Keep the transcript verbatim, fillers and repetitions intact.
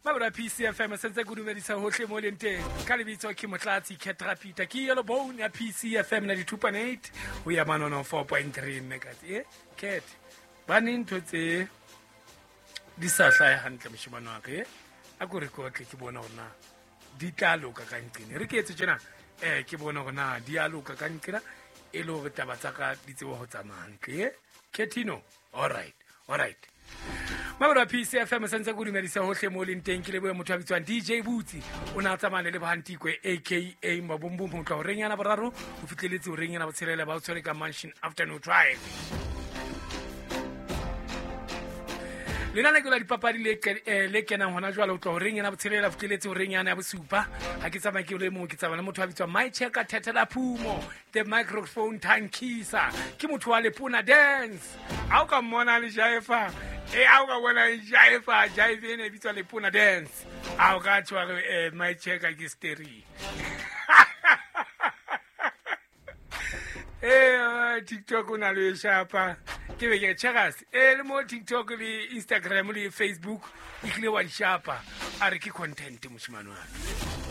Mabura P C F M sentse ke dumedisa hohle mo leng teng. Ka lebitso ke Motlatsi Ketrapita ke yellow bone ya P C F M ninety-two point eight ho ya manono four point three megahertz. Eh Cat ba ne ntho tse di sa hlahe hantle moshemane wa ka, eh? A ko re kotle ke bona hore na di tla loka ka nqene. Re ke etse tjena, eh ke bona hore na di a loka ka nqena e le hore taba tsa ka di tsebe ho tsamaya hantle, eh? Ketino, all right, all right. Mabura P C F M sentse ke dumedisa hohle mo leng teng. Ke lebohe motho a bitswang D J Butsi, o na tsamaya le Lebohantikwe A K A Mabumbum ho tloha horeng yana boraro ho fihleletse horeng yana botshelela ba o tshwere ka Mansion Afternoon Drive. Lenane la dipapadi le ke, eh, le kenang hona jwale ho tloha horeng yana botshelela ho fihleletse horeng yana ya bosupa. Ha ke tsamaye ke le mong, ke tsamaya le motho a bitswang My Checker Thethela Phumo, the microphone tankisa, ke motho wa Lepona Dance. Ha o ka mmona le jaifa, eh, ha o ka bona le jaifa, jaifa ena e bitswa Lepona Dance. Ha o ka tjho re, eh, My Checker ke stereo. Eh, TikTok o na le shapa. Ke be ke checkers. Eh, le mo TikTok le Instagram le Facebook e tlile wa di shapa. A re ke content moshemane wa ka.